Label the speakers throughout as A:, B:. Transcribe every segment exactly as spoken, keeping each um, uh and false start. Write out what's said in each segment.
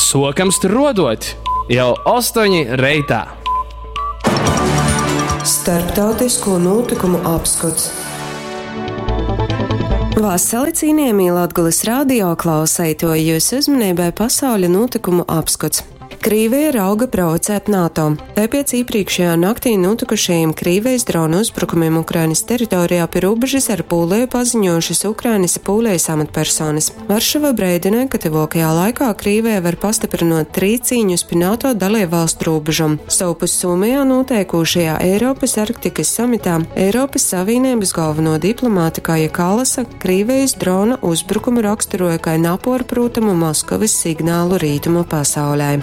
A: Sokam struodot jau ostoņi reitā.
B: Starptautisko notikumu apskots. Vasali cienījamie Latgulas radio klausētoji, jūsu uzmanībai pasauļa notikumu apskots. Krīvija rauga provocēt NATO. Tai pēc iepriekšējā naktī notikušajiem Krīvijas dronu uzbrukumiem Ukrainas teritorijā pie robežas ar Pūliju paziņojušas Ukrainas Pūlijas amatpersonas. Varšava brēdināja, ka tuvākajā laikā Krīvija var pastiprinot trīcīņus pie NATO dalību valstu robežam. Savpus Somijā noteikušajā Eiropas Arktikas samitā Eiropas Savienības galveno diplomātu Kaja Kalasa Krīvijas drona uzbrukumu raksturoja kā naporprūtamu Maskavas signālu rītumu pasaulē.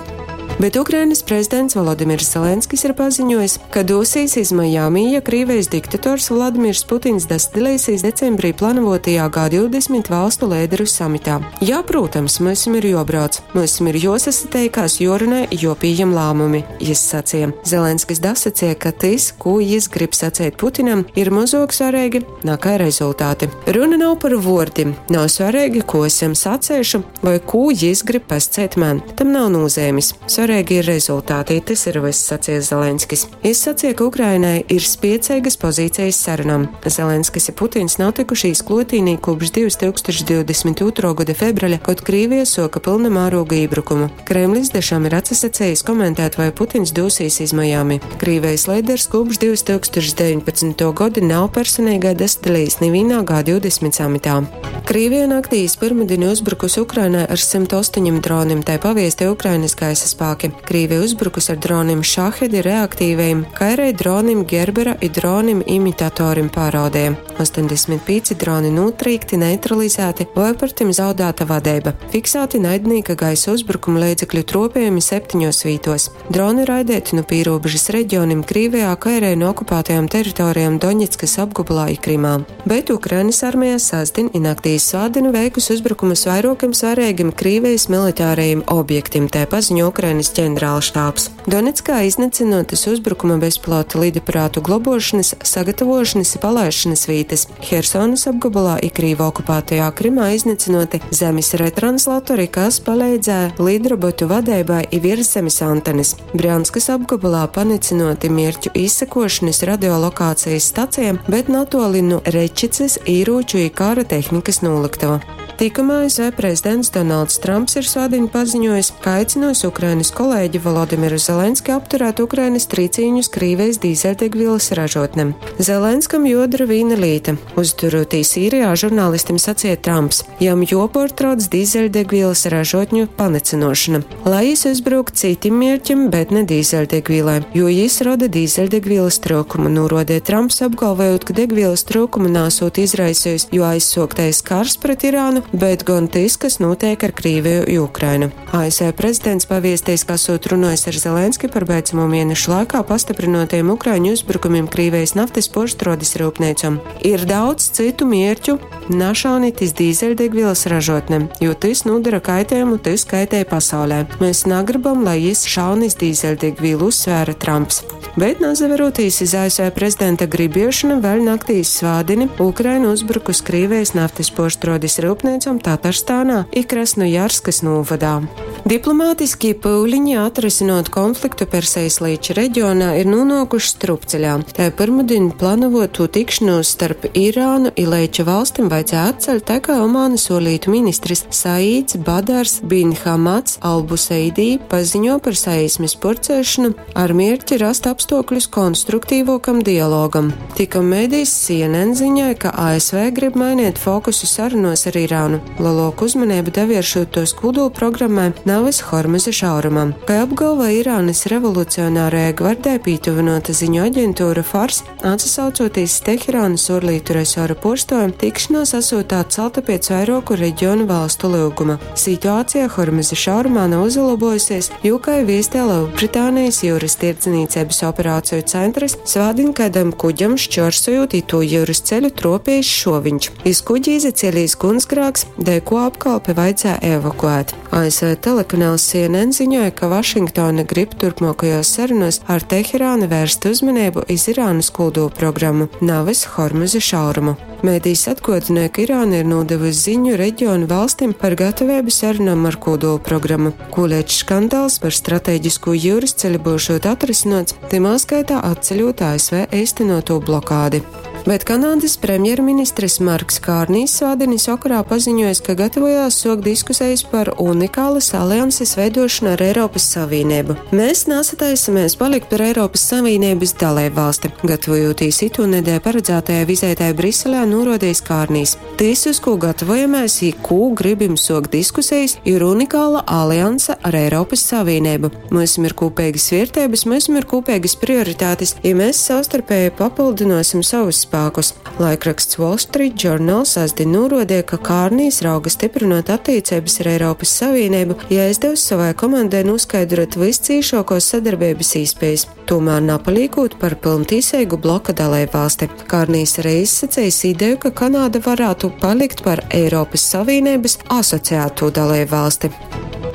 B: Bet Ukrainas prezidents Volodimirs Zelenskis ir paziņojis, ka dosīs iz Majami, ja Krīvijas diktators Vladimirs Putins dasdalīsies decembrī plānotajā G divdesmit valstu līderu samitā. Jā, protams, mums ir jobrauc, mums ir josasiteikās, jorunā, jopījam lēmumi, jis sacīja. Zelenskis dasacīja, ka tas, ko jis grib sacīt Putinam, ir mazāk svarīgi nekā rezultāti. Runa nav par vārdiem, nav svarīgi, ko esam sacējuši vai ko jis grib pascēt man. Tam nav nozīmes. Svarīgi ir rezultāti, tas ir viss, sacīja Zelenskis. Jis sacīja, ka Ukrainai ir spiecīgas pozīcijas sarunām. Zelenskis un Putins nav tikušies klotīnī kopš divtūkstoš divdesmit otrā gada februāra, kad Krīvija soka pilna mēroga iebrukumu. Kremlis dešām ir atsasacījis komentēt, vai Putins dosīs iz Majami. Krīvijas līderis kopš divtūkstoš deviņpadsmitā gada nav personīgai dasdalījis nevienā G divdesmit samitā. Krīvija naktī iz pirmdienu uzbrukusi Ukrainai ar simt astoņiem droniem, tai paviesti Ukrainas gaisa spēki. Krīvija uzbrukusi ar droniem Šahedi reaktīvajiem, kā arī dronim Gerbera i dronim imitatorim pāraudē. astoņdesmit pieci droni notrīkti, neutralizēti vai par tiem zaudēta vadība. Fiksēti naidnieka gaisa uzbrukuma līdzekļu tropējumi septiņos vītos. Droni raidēti no pīrobežas reģionim Krīvijā, kā arī no okupētajām teritorijām Doņetskas apgabalā i Krimā. Bet Ukrainas armija sestdien i naktī svētdienu veikusi uzbrukumus vairākiem svarīgiem Krīvijas militārajiem objektiem, tā paziņo Ukrainas ģenerālštābs. Donetskā iznīcinotas uzbrukuma bezpilota lidaparātu globošanas, sagatavošanas i palaišanas vītas. Hersonas apgabalā i Krīvu okupētajā Krimā iznīcinoti zemes retranslatori, kas palīdzēja lidrobotu vadībai i virszemes antenes. Brjanskas apgabalā panicinoti mierķu izsekošanas radiolokācijas stacijām, bet natoli no Rečicas īrūču i kara tehnikas noliktava. Tikamā A S V prezidents Donalds Trumps ir svētdien paziņojis, ka aicinos Ukrainas kolēģi Volodimiru Zelenski apturēt Ukrainas trīcīņus Krīvijas dīzeļdegvielas ražotnēm. Zelenskam jodara vīna līta. Uzturotī Sīrijā žurnālistim sacīja Trumps, jam joportrauc dīzeļdegvielas ražotņu panicinošana. Lai jis uzbruk citim mērķim, bet ne dīzeļdegvielai, jo jis rada dīzeļdegvielas trūkumu, norodīja Trumps, apgalvojot, ka degvielas trūkumu nāsot izraisījis, jo aizsoktais kars pret Irānu, bet gan tas, kas notiek ar Krīviju i Ukrainu. A S V prezidents paviestīs, ka esot runājis ar Zelenski par beidzamo mēnešu laikā pastiprinotajiem Ukraiņu uzbrukumiem Krīvijas naftas porštrodes rūpnīcam. Ir daudz citu mērķu našaunitis dīzeļdegvielas ražotnēm, jo tas nodara kaitējumu, tas kaitē pasaulē. Mēs negribam, lai jis šaunis dīzeļdegvielu, uzsvēra Trumps. Bet, nazaverotīs iz A S V prezidenta gribiešanu, vēl naktīs svādini Ukraina uzbrukus Krīvijas naftas porštrodes rūpnīcam Tatarstānā i Krasnojarskas novadā. Diplomātiski pūliņi atrisinot konfliktu Persijas līča reģionā ir nonākuši strupceļā. Tā pirmdien plānoto tikšanos starp Irānu i Leiča valstim vajadzēja atcelt, tā kā Omānas olītu ministrs Saīds Badars bin Hamads Albuseidī paziņo par saīsmes porcēšanu ar mērķi rast apstākļus konstruktīvākam dialogam. Tikam mēdījis C N N ziņoja, ka A S V grib mainīt fokusu sarunos ar Irānu. Lielāku uzmanību devēršot tos kodola programmai, nevis Hormuza šaurumam. Kā apgalvo Irānas revolucionārajai gvardē pītuvinota ziņu aģentūra Fars, atsaucoties Teherānas orlītu resora porstojam, tikšanās esot atcelta pēc vairāku reģionu valstu lūguma. Situācija Hormuza šaurumā nav uzlabojusies, jo, kā viestē Lielbritānijas jūras tirdzniecības operāciju centrs, svādin kādam kuģam šķorsojot itu jūras ceļu tropējis šoviņš. Iz kuģi izacielījis gunsgrāks, dēļ ko apkalpi vajadzēja evakuēt. A S V telekanāls C N N ziņoja, ka Vašingtona grib turpmākajos sarunos ar Teherānu vērst uzmanību iz Irānas kodolprogrammu, nevis Hormuza šaurumu. Medijs atguodināja, ka Irāna ir nodevusi ziņu reģionu valstīm par gatavību sarunām ar kodolu programmu. Kūlēčs skandāls par strateģisko jūras ceļu būšot atrisinots, timā skaitā atceļot A S V īstenoto blokādi. Bet Kanādas premjerministrs Marks Kārnijs svētdienas vakarā paziņojis, ka gatavojās sokt diskusijas par unikālas alianses veidošanu ar Eiropas Savienību. Mēs nesataisamies palikt par Eiropas Savienības dalību valsti, gatavojoties itūnedēļ paredzētajai vizītei Briselē, norodījis Kārnijs. Tīs, uz ko gatavojamies, i kū gribim sokt diskusijas, ir unikāla alianse ar Eiropas Savienību. Mums ir kopīgas vērtības, mums ir kopīgas prioritātes, ja mēs savstarpēji papildinosim savus spēkus. Laikraksts Wall Street Journal sestdien norodīja, ka Kārnijs rauga stiprinot attiecības ar Eiropas Savienību, ja aizdevs savai komandai noskaidrot viscīšākos sadarbības īspējas, tomēr napalīkot par pilntīsīgu bloka dalību valsti. Kārnijs arī izsacījis ideju, ka Kanāda varētu palikt par Eiropas Savienības asociēto dalību valsti.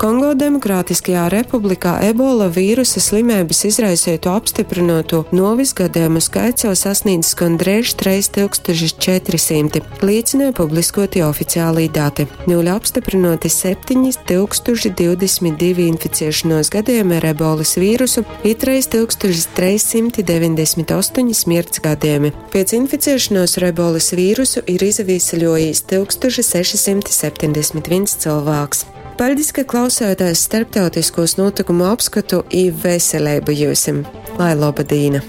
B: Kongo Demokrātiskajā republikā ebola vīrusa slimības izraisīto apstiprināto novis gadījumu skaits jau sasniedzis gandrīz trīs tūkstoši četri simti, liecināja publiskoti oficiālī dati. Nuļi apstiprināti septiņi tūkstoši divdesmit divi inficēšanos gadījumi ar ebolas vīrusu, i trīs tūkstoši trīs simti deviņdesmit astoņi smirts gadījumi. Pēc inficēšanos ar ebolas vīrusu ir izavīsaļojis tūkstoš seši simti septiņdesmit viens cilvēks. Paļdis, ka klausāties starptautiskos notikumu apskatu i veselību jūsim. Lai loba dīna!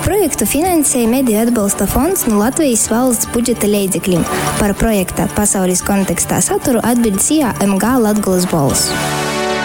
C: Projektu finansēja Mediju atbalsta fonds no Latvijas valsts budžeta leidzekļiem. Par projekta pasaules kontekstā saturu atbild S I A M G Latgolas Bolss.